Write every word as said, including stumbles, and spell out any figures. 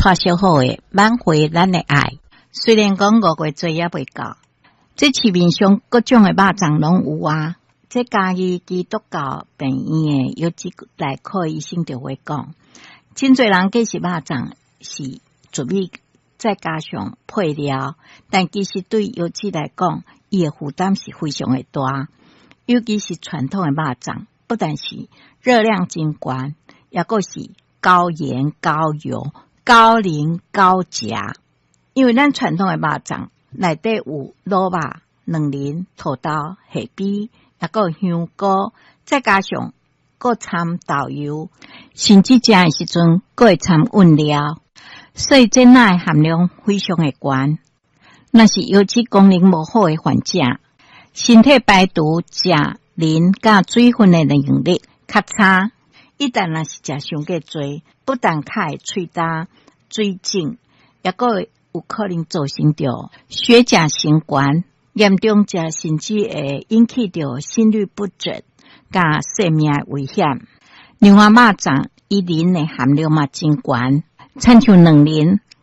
蔡小虎的《挽回咱的愛》。雖然講五月節猶未到，這市面上各種的肉粽攏有啊。這嘉義基督教病院的腰脊內科醫生就會講，真濟人計是肉粽是糯米再加上配料，但其實對腰子來講，伊的負擔是非常的大。尤其是傳統的肉粽，不但是熱量真懸，抑閣是高鹽、高油、高磷、高鉀。因為咱傳統的肉粽內底有滷肉、卵仁、土豆、蝦米，抑閣香菇，再加上閣摻豆油，甚至食的時陣閣會摻韻料，所以這鈉的含量非常的懸。若是腰子功能無好的患者，身體排除鉀、磷佮水分的能力較差。一旦若是食傷過濟，不但較會喙焦、水腫，抑閣有可能造成著血鉀升懸，嚴重者甚至會引起著心律不整、佮生命的危險。另外，肉粽伊磷的含量嘛真懸，親像卵磷、